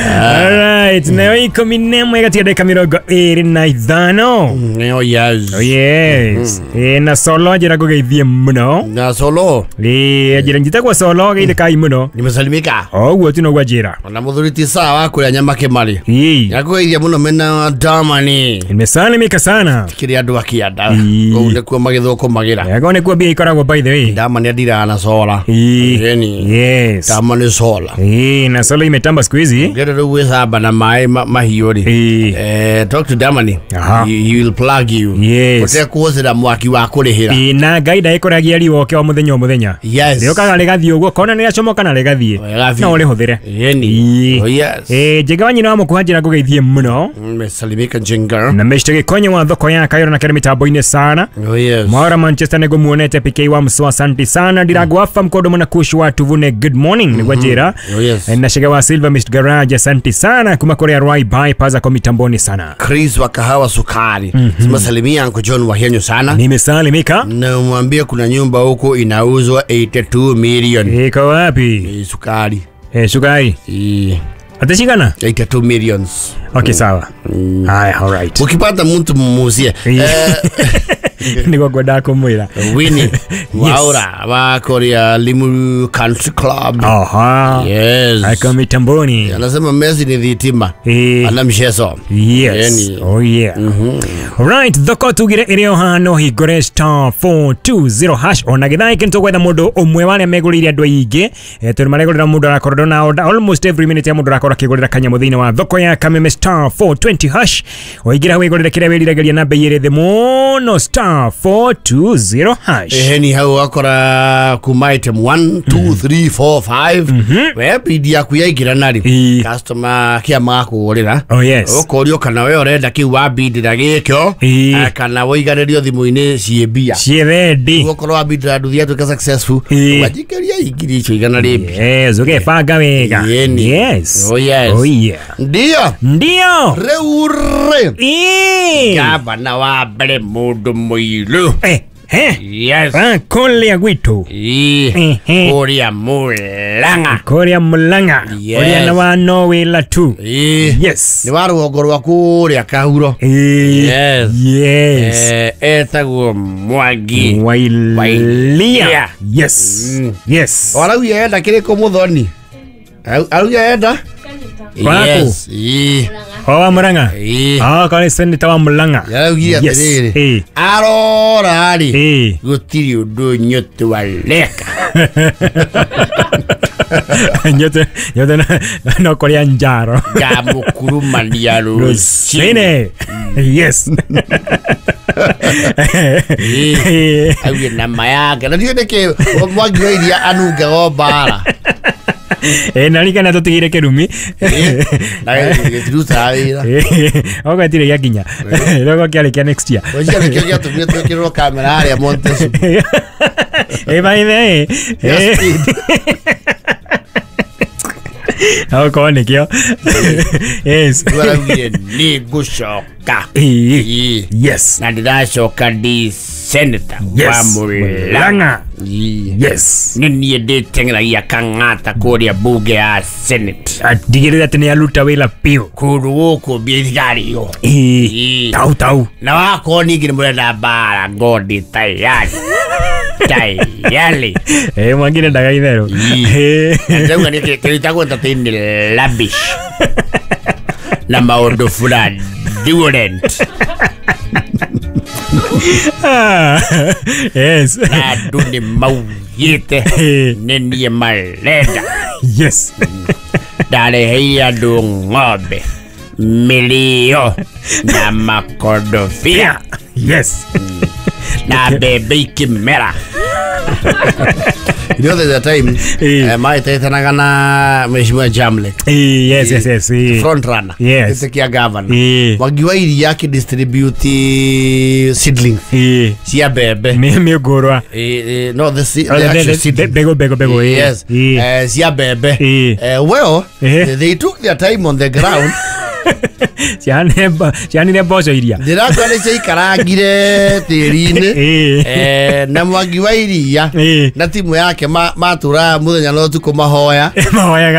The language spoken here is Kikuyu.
Alright, nayo 11 gatiga ndagĩka 25. Oh yes. Oh yes. Na solo njĩra ngũgeithie mũno. Na solo. Njĩra njĩtagwo solo geithĩkai mũno. Nimesalimika. Oguo tu noguo njĩra. Ona muthuri ti sawa wa kuria nyama kimari. Ĩĩ. Nyakugeithia muno mena Damani. Nimesalimika sana. Kiri andu akianda. Ĩĩ. Kũu nĩkuo magĩthũkũmagĩra. Ego nĩkuo mbia ikoragwo by the way. Damani andiraga na sola. Ĩĩ. Ĩni. Yes. Damani sola. Ĩĩ, na solo imetamba siku hizi. Ngere rĩu gwĩthamba na maĩ mahiũ rĩ. Ĩĩ. Talk to Damani. Aha. He will plug you. Yes. Ũtekũhũthĩra mwaki wa kũrĩhĩra. Ĩĩ, na ngai ndaĩkoragia riũa oke o mũthenya o mũthenya. Yes. Rĩũkaga rĩgathiĩ ũguo kona nĩrĩacomoka na rĩgathiĩ. Rĩgathiĩ. No ũrĩhũthĩre. Ĩni. Ĩĩ. Oh yes. Ĩĩ, Njenga wa nyina wa mũkuha njĩra ngũgeithie mũno. Mesalimika Njenga. Na Mr. Gĩkonyo wa thoko ya Kayora na kĩrĩ mĩtambo-inĩ sana. Oh yes. Mwaura Manchester nĩguo muonete PK wa Mswa, asante sana. Ndirango afa mkodo mwana kush wa tuvune good morning nĩguo njĩra. Oh yes. Na Shega wa Silva Mr. Garage asante sana kuma kũrĩa Rai bypass kwa mitamboni sana. Chris wa kahawa sukari. Simasalimia Uncle John wa Henyo sana. Nimesalimika. Na mwambie kuna nyumba huko inauzwa 82 million. Iko wapi? Sukari. Sukari. Atashikana? 82 millions. Okay, sawa. Haya, all right. Ukipata mtu mumuzie. Nĩguo ngwendaga kũmwĩra. Winnie Waura wa Korea Limuru Country Club. Aha. Yes. Ako mitamboni. Anasema Messi ni thitima. Ana mchezo. Yes. Yani. Oh yeah. Right, thoko tugire ĩrĩ o haha no hingũre star 420 hash ona gĩthaa gĩkĩ nĩtũgwetha mũndũ ũmwe wa arĩa megũrĩire andũ aingĩ, tondũ maregũrĩra mũndũ arakorwo na order almost every minute ya mũndũ arakorwo akĩgũrĩra kanyamũ thĩinĩ wa thoko ya Kameme star 420 hash. Waingĩra wĩgũrĩre kĩrĩa wĩriragĩria na bei ĩrĩ thĩ mũno star 420 hash. Eheni hau wakora kuma item 1 2 3 4 5 we bidi yaku yaingĩra nari Ĩĩ. customer kia makũgũrĩra. Oh yes. Ũkorio kana we ũrenda kĩu wambindĩra gĩkĩo Ĩĩ. kana wũiganĩrio thimũ-inĩ ciĩ mbia. Ciĩ ready. Ũkorwo wambindĩra nduthi yatuĩka successful Ĩĩ. ũgajikĩria ngiri icio igana rĩmbi. Yes, ũgebanga wega. Ĩni. Yes. Oh yes. Oh yeah. Ndio. Ndio. Rĩu rĩ Ĩĩ. gavana wa mbere mũndũ mũirũ. Yes. Kũrĩa gwitũ. Ĩĩ. Ehe. Kũrĩa Mũrang'a. Kũrĩa Mũrang'a. Yes. Ũrĩa na wa no wĩra tu. Ĩĩ. Yes. Nĩ wa rũgongo rwa kũrĩa Kahuro. Ĩĩ. Yes. Yes. Etagwo Mwangi Wailia. Wailia. Yes. Yes. Araugia enda kĩrĩkũ mũthoni? Araugia enda? Waku? Yes. Ĩĩ. O wa Mũrang'a. Ĩĩ. Ah, kwarĩ senator wa Mũrang'a. Araugire Yes. atĩrĩrĩ. Ĩĩ. Arora rĩ. Ĩĩ. Gũtirĩ ũndũ nyũtũ areka. Nyote nyote no kũrĩa njaro. Ngamũkurumania rũcinĩ. Rũcinĩ. Yes. Ĩĩ. Auge nama yake. Na ndiũĩ nĩkĩ Mwangi wa Iria anungaga o mbara. Na ririkana tũtigire kĩrumi. Na gĩtirutaga wĩra. Okorwo gĩtirĩ gĩakinya. Okorwo kĩarĩ kĩa next year. Ũcio nĩkĩo gĩatũmire twĩkĩrĩrwo kamera harĩa Montessu. By the way. Ya speed. Okorwo nĩkĩo. Yes. Rĩu araugire nĩ ngũcoka. Ĩĩ. Ĩĩ. Yes. Na ndĩracoka ndĩ senator wa Yes. Mũrang'a. Mũrang'a. Ĩĩ. Yes. Nĩ niĩ ndĩteng'eragia kang'ata kũrĩa bunge ya Senate. Atigĩrĩre atĩ nĩ aruta wĩra biũ. Kũndũ gũkũ mbia itikarĩo. Ĩĩ. Ĩĩ. Tau tau. Na wakorwo ningĩ nĩ mũrenda mbara ngondi tayari. Tayari. Mwangi ndendaga itherũ. Ĩĩ. Ndauga nĩ kĩrĩtagwo entertain rubbish. Na maũndũ fraudulent. Yes. Na andũ nĩ maugĩte nĩ niĩ marenda. Yes. Ndareheire andũ ng'ombe mĩrĩo na makondobia Yes. na mbembe ikĩmera. You know there's a time maĩtetanaga na Mheshimiwa Jamlek. Yes, yes, yes. Front runner. Yes. Gĩtĩ kĩa governor. Mwangi wa Iria akĩdistribute seedlings cia mbembe. Nĩ mĩũngũrwa. No, the actual seedlings. Mbegũ mbegũ mbegũ. Yes. Cia mbembe. Well, they took their time on the ground. Cianire mboco iria. Ndĩrakora nĩ ciaikarangire tĩri-inĩ. Na Mwangi wa Iria na timu yake matũraga mũthenya na ũtukũ mahoya. Mahoyaga.